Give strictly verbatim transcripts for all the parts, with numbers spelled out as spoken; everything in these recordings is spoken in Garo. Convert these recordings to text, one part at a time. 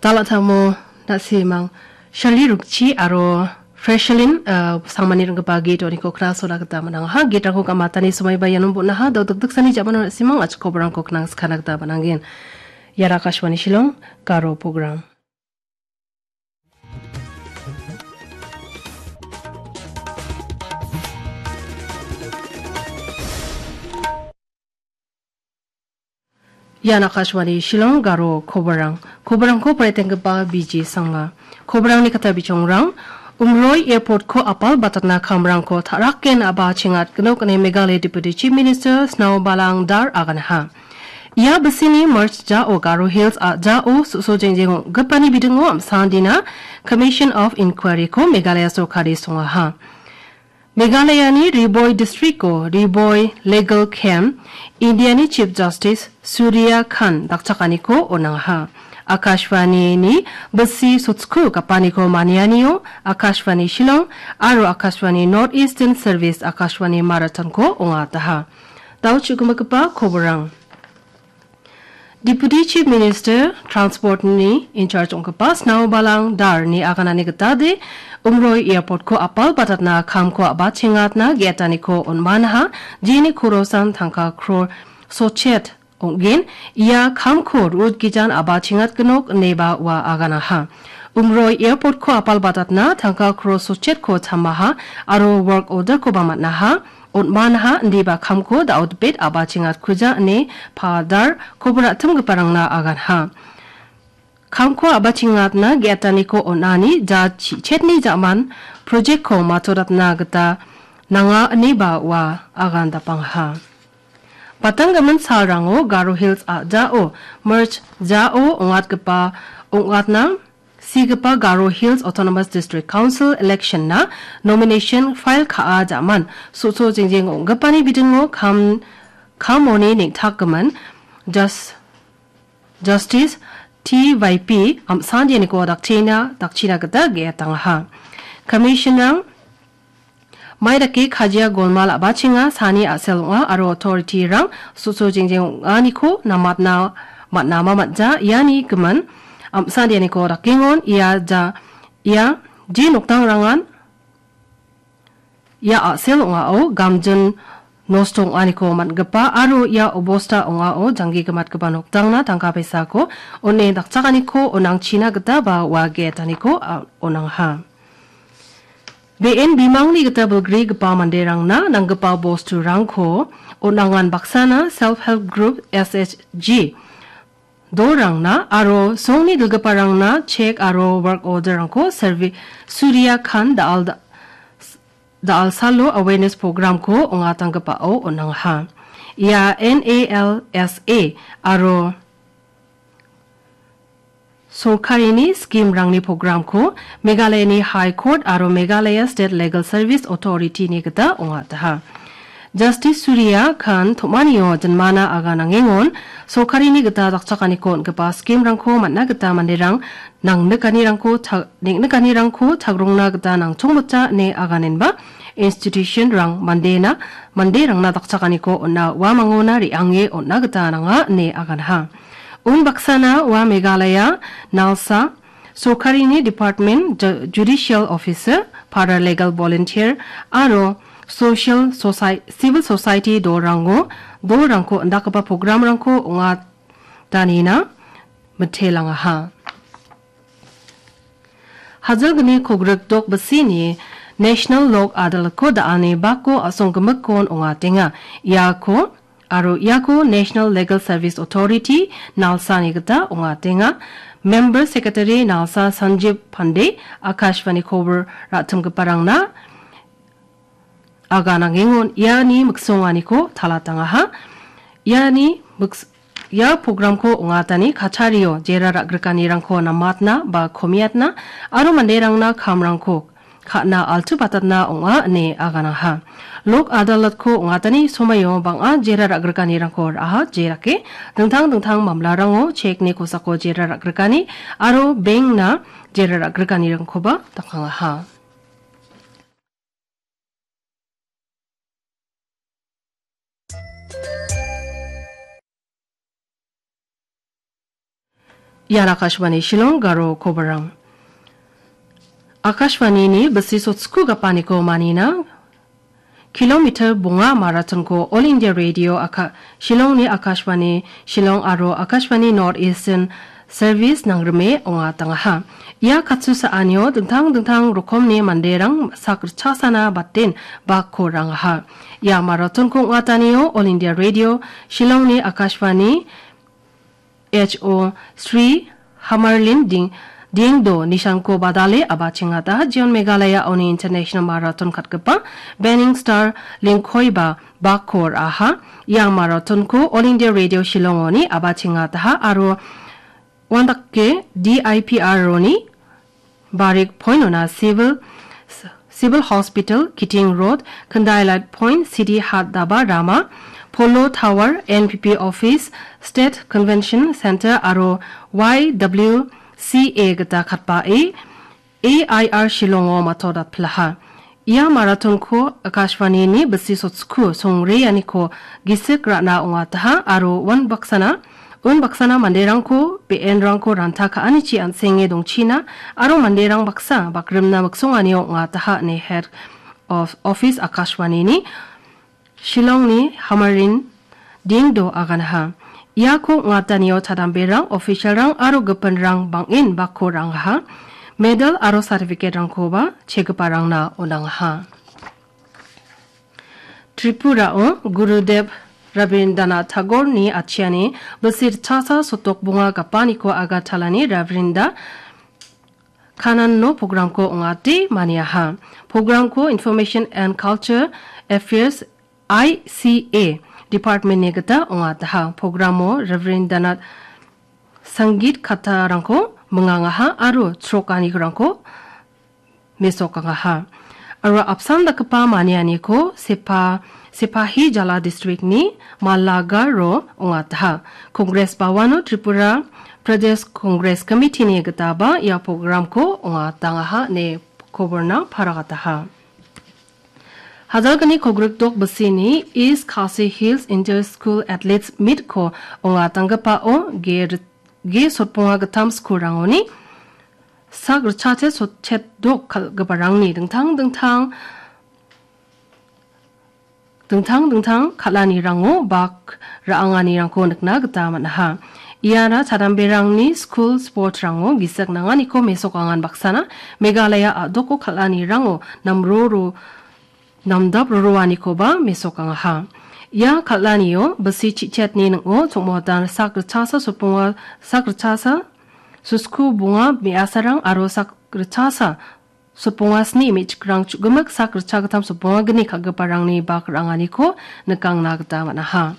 Dalatamo na·simang Shirley Rukchi aro Freshlin, uh, Sangmani ringgipa git oniko knasoda gita man·angaha. Gitrangko gamatani somaiba ianon bon·aha, dodok diksani jamano na·simang achikoborangko knangskana gita man·angen. Iara Akashvani Shillong, Garo program. Ian Akashvani Shillong, Garo koborang. Koborangko paritenggipa B J Sangma. Koborangni kata bichongrang, Umroi Airport-ko apal batatna kamrangko ta·raken a·bachengat gnok ine Meghalaya Deputy Chief Minister Snao Balang Dar aganaha. Ia bisini March jao Garo Hills a·jao su·so jengjeng ong·gipani bidingo amsandina Commission of Inquiry-ko Meghalaya sorkari songaha. Meghalayani Ri Bhoi District-o Ri Bhoi Legal Camp, Indiani Chief Justice Surya Kant dakchakaniko on·angaha. Akashvani-ni bisi sotsko gapaniko manianio Akashvani Shillong aro Akashvani North Eastern Service Akashvani Marathon-ko ong·ataha. Dao chu·gimagipa koborang. Deputy Chief Minister Transport-ni in charge ong·gipa Snao Balang Dar-ni aganani gitade Umroi Airport-ko apal batatna kamko a·bachengatna ge·etaniko on·manaha, jeni korosan tangka kror sotchet ong·gen, ia kamko rut gijan a·bachengat gnok ineba ua aganaha. Umroi Airport-ko apal batatna tangka kror sotchetko chamaha aro work order-koba man·aha. On·manaha indiba kamko da·o dipet a·bachengatkuja ine Padar kobor a·timgiparangna aganha. Kamko a·bachengatna ge·etaniko on·ani ja chi-, chetni ja·man project-ko matodatna gita nanga ineba ua agan dapangaha. Batanggimin salrango Garo Hills a·jao March jao ong·atgipa ong·atna sigipa Garo Hills Autonomous District Council election-na nomination file ka·a ja·man, su·so jengjeng ong·gipani bidingo kam, kamoni neng·takgimin Jas-, Justice T Y P Amsandianiko dakchina, dakchina gita ge·etangaha. Commission-rang Mai dake kajia golmal a·bachenga, sani a·sel ong·a aro authority-rang su·so jengjeng ong·aniko namatna man·ama man·ja. Iani gimin Amsandianiko dakengon, ia ja, ia je noktangrangan ia a·sel ong·ao gamjin nosto ong·aniko man·gipa aro ia obosta ong·ao janggi gimatgipa noktangna tangka paisako on·e dakchakaniko on·angchina gita ba ua ge·etaniko, a, on·angaha. Be en bimangni gita bilgrigipa manderangna nanggipa bosturangko on·angan baksana Self Help Group, S H G, dolrangna aro songni dilgiparangna chek aro work order-rangko servi-, Surya Khan da·al da-, da·alsalo awareness program-ko ong·atanggipao on·angaha. Ia N A L S A aro sorkarini scheme-rangni program-ko Meghalayani High Court aro Meghalaya State Legal Service Authority-ni gita ong·ataha. Justice Surya Khan tom·anio jinmana aganangengon, sorkarini gita dakchakaniko on·gipa scheme-rangko man·na gita manderang nangnikanirangko ta-, neng·nikanirangko tagrongna gita nangchongmota ine aganenba institution-rang mandena, manderangna dakchakaniko on·a uamangona re·ange on·na gita nanga ine aganha. Unbaksana ua Meghalaya Nalsa sorkarini department, ju-, judicial officer, paralegal volunteer aro social soci-, civil society dolrango, dolrangko indakgipa program-rangko ong·atanina mitelangaha. Hajalgni kogrikdok bisini National Lok Adalatko da·ani bako a·songgimikkon ong·atenga. Iako aro iako National Legal Service Authority Nalsani gita ong·atenga. Member Secretary Nalsa Sanjib Pandey Akashvani kobor ra·timgiparangna aganangengon iani miksonganiko talatangaha. Iani miks-, ia program-ko ong·atani kachario jera ra·grikanirangko namatna ba komiatna aro manderangna kamrangko ka·na altubatatna ong·a ine aganaha. Lok Adalatko ong·atani somaio bang·a jera ra·grikanirangko ra·aha, jerake dingtang dingtang mamlarango chekni kosako jera ra·grikani aro bank-na jera ra·grikanirangkoba dakangaha. Ian Akashvani Shillong Garo kobarang. Akashvanini bisi sotsku gapaniko manina, kilometer bonga marathonko All India Radio Aka-, Shillongni Akashvani Shillong aro Akashvani North Eastern Service nangrime ong·atangaha. Ia katsusaanio dingtang dingtang rokomni manderang sakrichasana baten bakko rangaha. Ia marathonko ong·atanio All India Radio Shillongni Akashvani H O Sri Hamarlin Ding, Dingdo Nishanko Badale aba chingata Jion Meghalaya oni International Marathon katgipa Banning Star Lingkoiba bakko ra·aha. Ia marathonko All India Radio Shillongoni aba chingataha aro uandake D I P R oni Barik Point ona Civil, Civil Hospital, Kiting Road, Khandai Light Point, City Hat Daba Rama, Polo Tower, N P P Office, State Convention Center aro Y W C A gita katbae A I R Shillongo matodatpilaha. Ia marathonko Akashvanini bisi sotsku songreaniko gisik ra·na ong·ataha aro uan baksana, un baksana manderangko be·enrangko ranta ka·anichi an·senge dongchina aro manderang baksa bakrimna miksonganio ong·ataha ine Head of Office Akashvanini Shillongni Hamarin Dingdo aganaha. Iako ong·atanio chadamberang, officialrang aro gipinrang bang·en bakko rangaha. Medal aro certificate-rangkoba chegiparangna on·angaha. Tripurao Gurudev Rabindranath Tagore-ni atchiani bisi ritchasa sotok bonga gapaniko Agartala-ni Rabindra Kanano programko ong·ate maniaha. Programko Information and Culture Affairs, I C A, Department-ni gita ong·ataha. Programo Rabindranath Sangeet Katharangko mingangaha aro chrokanirangko mesokangaha. Aro apsan dakgipa manianiko Sepa-, Sepahijala District-ni Malagaro ong·ataha. Congress Bawano Tripura Pradesh Congress Committee-ni gitaba ia programko ong·atangaha ine koborna paragataha. Hajalgni kogrikdok bisini East Khasi Hills Inter School Athletes Meet-ko ong·atanggipao ge rit-, ge sotbonga gittam skulrangoni sak ritchate sotchetdok kal·giparangni dingtang dingtang, dingtang dingtang kal·anirango bak ra·anganirangko nikna gita man·aha. Iara chadamberangni skul sportrango gisik nanganiko mesokangan baksana Meghalaya a·doko kal·anirango namroro namdap roroanikoba mesokangaha. Ia kal·anio bisi chichetni ning·o chongmotan sak ritchasa sotbonga, sak ritchasa sosku bonga me·asarang aro sak ritchasa sotbonga sni me·chikrang chu·gimik sak ritchagittam sotbonga gni kal·giparangni bak ra·anganiko nikangna gita man·aha.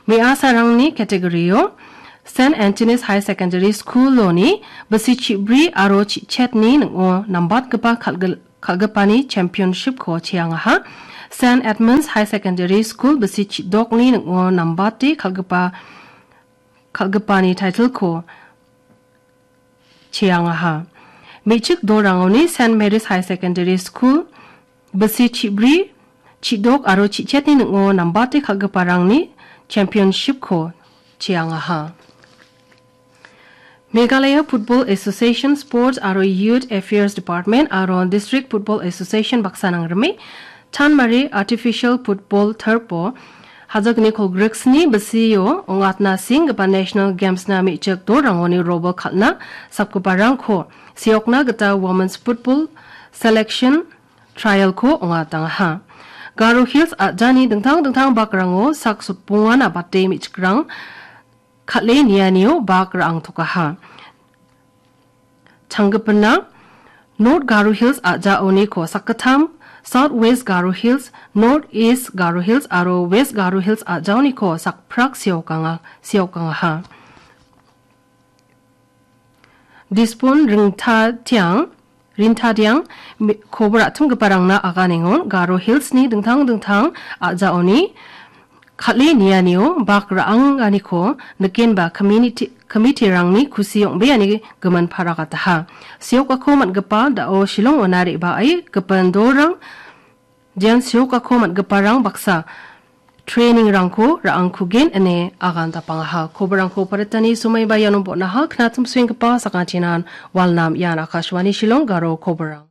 Me·asarangni category-o Saint Anthony's High Secondary School-oni bisi chibri aro chichetni ning·o nambatgipa kal-, kal·gipani championship-ko cheangaha. Saint Edmund's High Secondary School bisi chidokni ning·o nambate kal·gipa, kal·gipani title-ko cheangaha. Me·chik dolrangoni Saint Mary's High Secondary School bisi chibri, chidok aro chichetni ning·o nambate kal·giparangni championship-ko cheangaha. Meghalaya Football Association Sports aro Youth Affairs Department aro District Football Association baksa nangrime Chanmari Artificial Football Turf-o hajalgni kolgriksni bisio ong·atna senggipa National Games-na me·chik dolrangoni robol kal·na sapgiparangko seokna gita Women's Football Selection Trial-ko ong·atangaha. Garo Hills a·jani dingtang dingtang bakrango sak sotbongan abate me·chikrang kal·e nianio bak ra·angtokaha. Changgipina North Garo Hills a·jaoniko sakgittam, South West Garo Hills, North East Garo Hills aro West Garo Hills a·jaoniko sakprak seokanga-, seokangaha. Dispon Ringtatiang, Rintadiang, mi-, kobor a·tinggiparangna aganengon Garo Hills-ni dingtang dingtang a·jaoni kal·e nianio bak ra·anganiko nikenba community, committee-rangni kusi ong·beani gimin paragataha. Seokako man·gipa da·o Shillong-ona re·bae gipin dolrang, jean seokako man·giparang baksa training-rangko ra·angkugen ine agandapangaha. Koborangko paritani somaiba iano bon·aha. Knatim suenggipa sakantinan walnam. Ian Akashvani Shillong Garo koborang.